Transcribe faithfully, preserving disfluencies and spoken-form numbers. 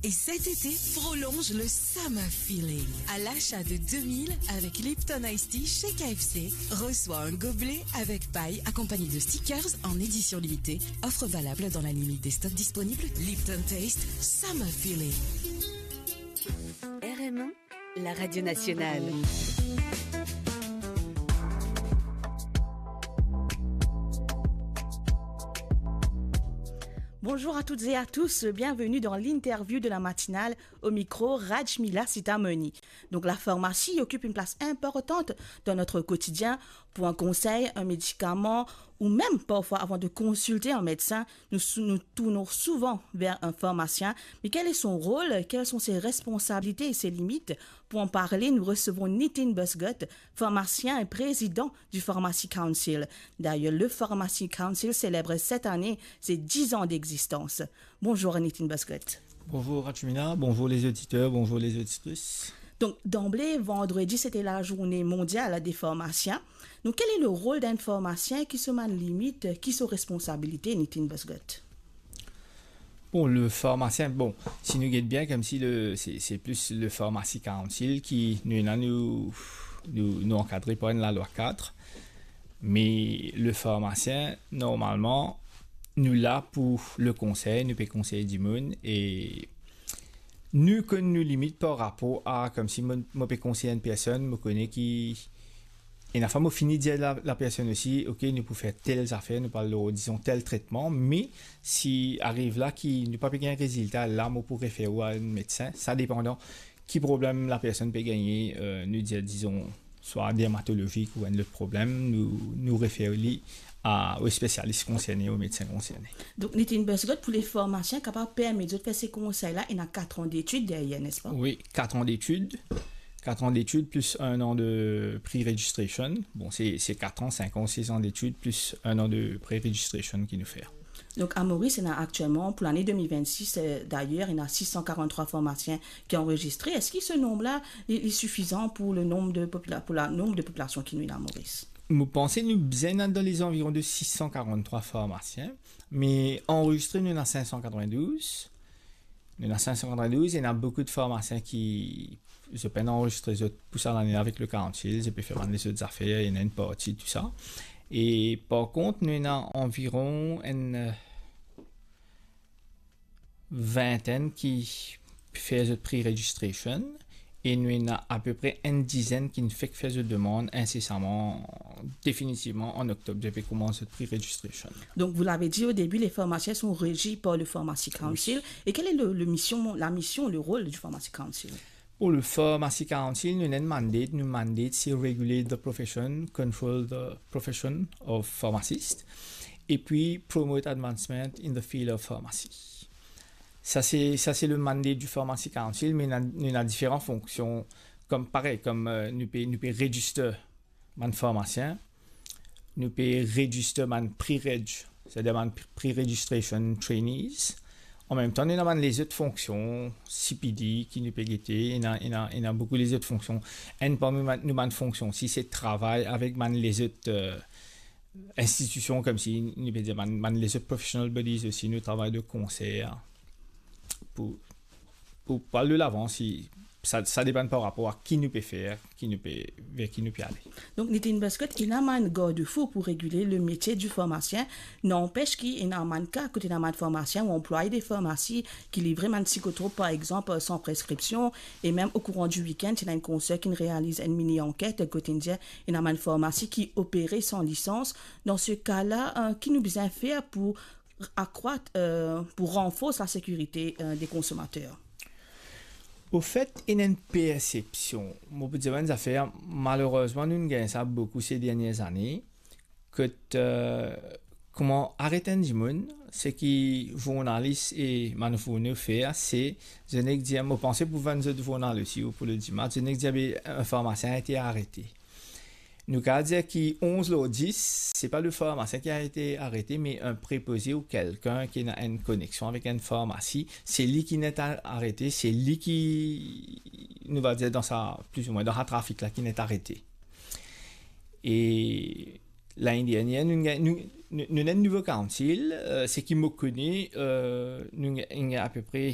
Et cet été, prolonge le summer feeling. À l'achat de deux mille avec Lipton Ice Tea chez K F C, reçois un gobelet avec paille accompagné de stickers en édition limitée. Offre valable dans la limite des stocks disponibles. Lipton Taste Summer Feeling. R M un, la radio nationale. Bonjour à toutes et à tous, bienvenue dans l'interview de la matinale. Au micro, Rajmila Sitamoni. Donc, la pharmacie occupe une place importante dans notre quotidien. Pour un conseil, un médicament, ou même parfois avant de consulter un médecin, nous, sou- nous tournons souvent vers un pharmacien. Mais quel est son rôle ? Quelles sont ses responsabilités et ses limites ? Pour en parler, nous recevons Nitin Busgut, pharmacien et président du Pharmacy Council. D'ailleurs, le Pharmacy Council célèbre cette année ses dix ans d'existence. Bonjour Nitin Busgut. Bonjour Rajmila, bonjour les auditeurs, bonjour les auditrices. Donc, d'emblée, vendredi, c'était la journée mondiale des pharmaciens. Donc, quel est le rôle d'un pharmacien ? Ki so bann limit, ki so responsabilité, Nitin Busgut ? Bon, le pharmacien, bon, si nou get bien, koumsi le, c'est, c'est plus le Pharmacy Council ki, nou, ena nou, nou, nou ankadre par enn lalwa cadre. Me le pharmacien, normalman, nou la pou le konsey, nou pe konsey dimoun, e nou konn nou limit par rapor a, koumsi mo, mo pe konsey enn personn, mo kone ki, ena fwa mo fini dir la, la personn osi, ok, nou pou fer tel zafer, nou pou al lor, dizon, tel tretman, me si ariv la ki nou pa pe gagn rezilta, la mo pou refer ou a enn medsin, sa depandan ki problem la personn pe gagne, euh, nou dir, dizon, swa dermatolozik ou enn lot problem, nou, nou refer li a, o spesialis konserne, o medsin konserne. Donc, Nitin Busgut, pour les pharmaciens, kapav permet zot fer se konsey la, ena quatre ans d'études derrière, n'est-ce pas ? Oui, quatre ans d'études. Quatre ans d'études plus un an de pre-registration. Bon, c'est, c'est quatre ans, cinq ans, six ans d'études plus un an de pre-registration ki nou fer. Donc, à Maurice, il y en a actuellement, pour l'année deux mille vingt-six, euh, d'ailleurs, il y en a six cent quarante-trois pharmaciens qui sont enregistrés. Est-ce que ce nombre-là est, est suffisant pour le nombre de popula-, pour la nombre de population ki nou ena Maurice ? Mo panse nou bizin dan les environs de six cent quarante-trois pharmaciens, me anrezistre nou ena cinq cent quatre-vingt-douze. Nou ena cinq cent quatre-vingt-douze, ena boukou de pharmacien ki, zot pena anrezistre zot pou sa lane avek le Council, zot pe fer bann lezot zafer, ena enn parti, tou sa. E par kont, nou ena anviron enn, euh, vintenn ki fer zot pre-registration, e nou ena apepre enn dizenn ki fek fer zot demann insesaman, definitivman an oktob, zot pe koumans zot pre-registration. Donc, vous l'avez dit au début, les pharmaciens sont régis par le Pharmacy Council. Oui. Et quelle est le, le mission, la mission, le rôle du Pharmacy Council ? Pour le Pharmacy Council, nou ena enn mandate, nou mandate c'est regulate the profession, control the profession of pharmacist, et puis promote advancement in the field of pharmacy. Sa se, sa se le mandate du Pharmacy Council, me nou ena, nou ena diferan fonksion, kom parey, kom, euh, nou pe, nou pe register bann pharmacien, nou pe register bann pre-reg, setadir bann pre-registration trainees. An mem tan, nou ena bann lezot fonksion, C P D ki nou pe gete, ena, ena, ena boukou lezot fonksion. Enn parmi bann, nou bann fonksion osi, se travay avek bann lezot, euh, institision, koumsi nou pe dir bann, bann lezot professional bodies osi, nou travay de konser pou, pou al de lavan, si sa, sa depann par rapor a ki nou pe fer, ki nou pe, ver ki nou pe ale. Donc, Nitin Busgut, ena bann garde-fou pour réguler le métier du pharmacien. N'empêche ki ena bann ka kot ena bann pharmacien ou anplwaye de farmasi ki livre bann psikotrop, par exemple, sans prescription, et même au courant du week-end, si ena enn konser ki realiz enn mini anket, kot inn dir ena bann farmasi ki opere san lisans. Dans ce cas-là, euh, ki nou bizin fer pour accroître, euh, pour renforcer la sécurité, euh, des consommateurs ? Ofet, ena enn persepsion. Mo pou dir enn zafer, malerezman, nou gagn sa boukou se dernie zane. Kot, euh, kouma aret enn dimoun, seki zournalis e bann fourni fer, se, zot nek dir, mo panse pou vann zot zournal osi ou pou le dimanch, zot nek dir, be, enn farmasien ete arete. Nou kapav dir ki onz lor dis, se pa le farmasien ki ete arete, me enn prepoze ou kelkenn ki ena enn koneksion avek enn farmasi, se li ki ena arete, se li ki, nou va dir, dan sa, pli ou mwin, dan sa trafik la, ki ena arete. E lane dernier, nou, nou, nou, nou ena enn nouvo council, euh, seki mo kone, euh, nou, nou apepre